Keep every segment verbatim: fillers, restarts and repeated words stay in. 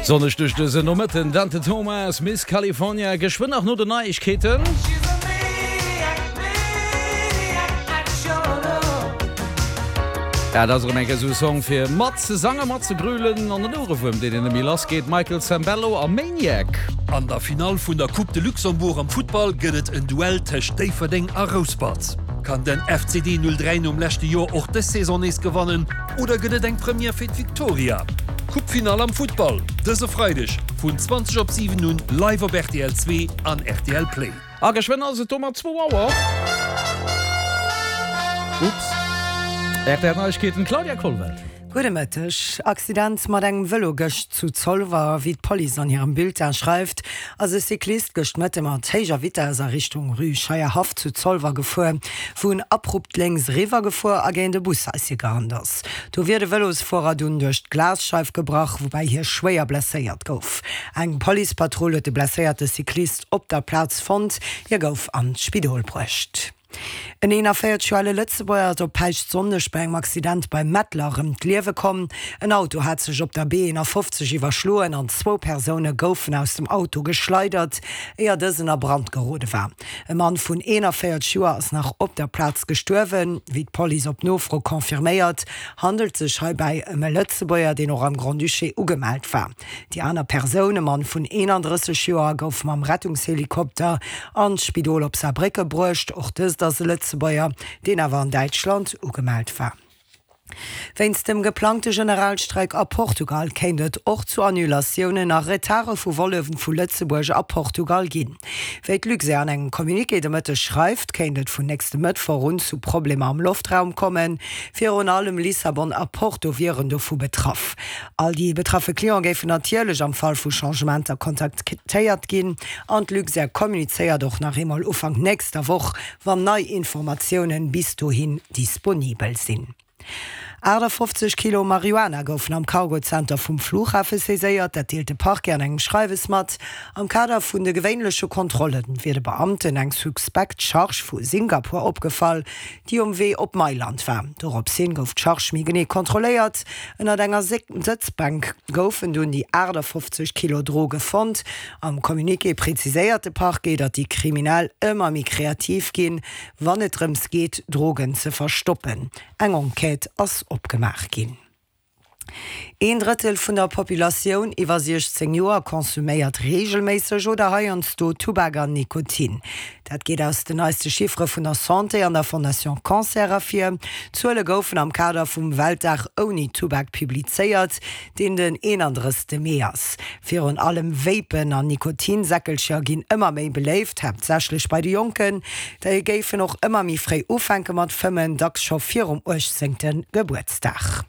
Sonneg duerch dësen Nomëtten, Dante Thomas, Miss California, geschwënn nach no den Neiegkeeten. Ja, dat ass erëm eng Kéier esou e Song fir mat ze sangen, mat ze grölen an en Ouerewuerm, deen een net méi lass geet, Michael Sembello a Maniac. An der Finall vun der Coupe de Luxembourg am Futtball gëtt et en Duell tëscht Déifferdeng a Rouspert. Kann den F C D null dräi nom leschte Joer och dës Saison nees gewannen oder gëtt et eng Première fir d'Victoria? Coupe-Finall am Futtball dëse Freideg vun zwanzeg op siwen un live op R T L zwee an R T L Play. A geschwënn ass et domat zwou Auer. Ups. R T L Neiegkeeten, Claudia Kollwelt. Gudde Mëtteg. Accident mat engem Vëlo gëscht zu Zolwer. Wéi d'Police an hirem Bulletin schreift, ass e Cyclist gëscht Mëtte mat héijer Vitess a Richtung Rue Scheierhaff zu Zolwer gefuer, wou en abrupt lénks eriwwer gefuer a géint e Bushaische gerannt ass. Do wier de Vëlosfuerer dunn duerch d'Glasscheif gebrach, woubäi hie schwéier blesséiert gouf. Eng Policepatrull huet de blesséierte Cyclist op der Plaz fonnt, hie gouf an d'Spidol bruecht. En eenanvéierzeg Joer ale Lëtzebuerger ass op Päischtsonndeg bei engem Accident bei Mettler ëm d'Liewe komm. En Auto hat sech op der B eenafofzeg iwwerschloen an zwou Persoune goufen aus dem Auto geschleidert, éier dësen a Brand gerode war. E Mann vun eenanvéierzeg Joer ass nach op der Plaz gestuerwen. Wéi d'Police op Nofro confirméiert, handelt sech heibäi ëm e Lëtzebuerger, deen och am Grand-Duché ugemellt war. Déi aner Persoun, e Mann vun eenandrësseg Joer, gouf mam Rettungshelikopter an d'Spidol op Saarbrécke bruecht. Och dëst ass e Lëtzebuerger, deen awer an Däitschland ugemellt war. Wéinst dem geplangte Generalstreik a Portugal kéint et och zu Annulatiounen a Retarde vu Volle vu Lëtzebuerg a Portugal ginn. Wéi d'Luxair an engem Communiqué de Mëtteg schreift, kéint et vun nächste Mëttwoch un zu Problemer am Loftraum kommen. Virun allem Lissabon a Porto wieren dovu betraff. All déi betraffe Cliente géifen natierlech am Fall vu Changementer kontaktéiert ginn an d'Luxair kommunizéiert och nach eemol Ufank nächster Woch, wann nei Informatiounen bis dohin disponibel sinn. aachtafofzeg Kilo Marihuana goufen am Cargo-Zenter vum Flughafe saiséiert, dat deelt de Parquet an engem Schreiwes mat. Am Kader vun de gewéinleche Kontrolle wier de Beamten eng suspekt Charge vu Singapur opgefall, déi um Wee op Mailand war. Dorops hin gouf d'Charge méi genee kontrolléiert. Ënnert enger Sëtzbänk goufen dunn déi aachtafofzeg Kilo Droge fonnt. Am Communiqué preziséiert de Parquet, datt déi Kriminell ëmmer méi kreativ ginn, wann et drëms geet, Drogen ze verstoppen. Eng Enquête ass opgemaach ginn. Een Drëttel vun der Populatioun iwwer siechzéng Joer konsuméiert reegelméisseg oder heiansdo Tubak an Nikotin. Dat geet aus den neiste Chiffere vun der Santé an der Fondation Cancer ervir. D'Zuele goufen am Kader vum Weltdag ouni Tubak publizéiert, deen den eenandrëssegste Mee ass. Virun allem Vapen an Nikotinsäckelcher ginn ëmmer méi beléift, haaptsächlech bei de Jonken. Déi géifen och ëmmer méi fréi ufänke mat fëmmen, dacks scho virum uechtzéngte Gebuertsdag.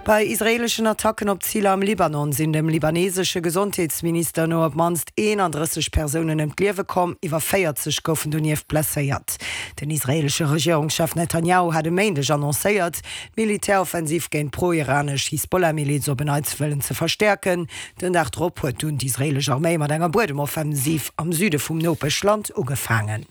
Bei israeeleschen Attacken op Ziler am Libanon sinn dem libanesesche Gesondheetsminister no op d'mannst eenandrësseg Persounen ëm d'Liewe komm, iwwer véierzeg goufen donieft blesséiert. Den israeelesche Regierungschef Netanjahu hat e Méindeg annoncéiert, d'Militäroffensiv géint d'pro-iranesch Hisbollah-Miliz op en Neits wëllen ze verstäerken. Den Dag drop huet dunn d'israeelesch Arméi mat enger Buedemoffensiv am Süde vum Nopeschland ugefaangen.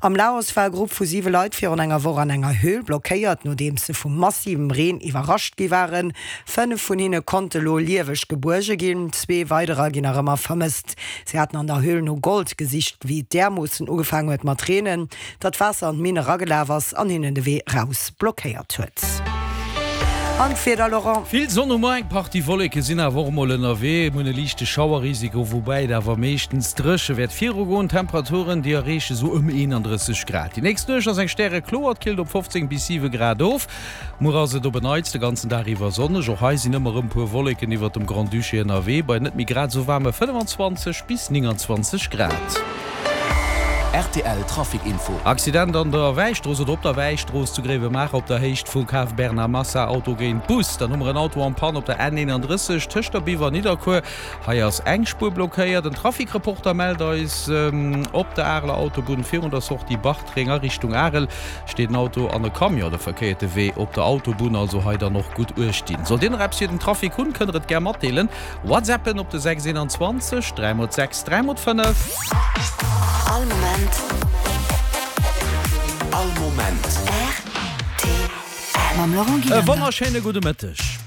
Am Laos war e Grupp vu siwe Leit virun enger Woch an enger Höhl blockéiert, nodeems se vu massivem Reen iwwerrascht gi waren. Fënnef vun hinne konnte lo lieweg gebuerge ginn, zwee weiderer ginn nach ëmmer vermësst. Si haten an der Höhl no Gold gesicht, wéi et därmoossen ugefaangen huet mat reenen, datt d'Waasser an d'Minn eragelaf ass an hinnen de Wee raus blockéiert huet. An d'Wieder, Laurent? Vill Sonn hu mer, eng Partie Wolleke sinn awer och mol ënnerwee. Mir hunn e liichte Schauerrisiko, woubäi et awer meeschtens dréche wäert virugoen. D'Temperaturen, déi erreeche sou ëm eenandrësseg Grad. Déi nächst Nuecht ass eng stärekloer, et killt op fofzéng bis siwe Grad of. Muer ass et op en Neits de ganzen Dag iwwer sonneg. Och hei sinn ëmmer erëm puer Wolleken iwwert dem Grand-Duché ënnerwee, bei net méi grad esou waarme fënnefenzwanzeg bis nénganzwanzeg Grad. R T L Trafic Info. Accident an der Wäistrooss oder op der Wäistrooss zu Gréiwemaacher op der Héicht vu Cave Bernard Massa, Auto géint Bus. Dann hu mer en Auto en panne op der N eenandrësseg tëscht der Biwer an Nidderkuer. Hei ass eng Spuer blockéiert. En Trafic-Reporter mellt eis, Op der Areler Autobunn virun der Sortie Bartreng a Richtung Arel steet en Auto an e Camion. De verkéierte Wee op der Autobunn, also hei dann och gutt uecht dinn. Sollt Dir nach eppes fir den Trafic hunn, kënnt der et gär matdeelen. Whatsappen op de sechs eenanzwanzeg dräi mol sechs dräi mol fënnef. All Moment. All Moment. R T L. Mam Laurent E Gillander. Wonnerschéine gudde Mëtteg.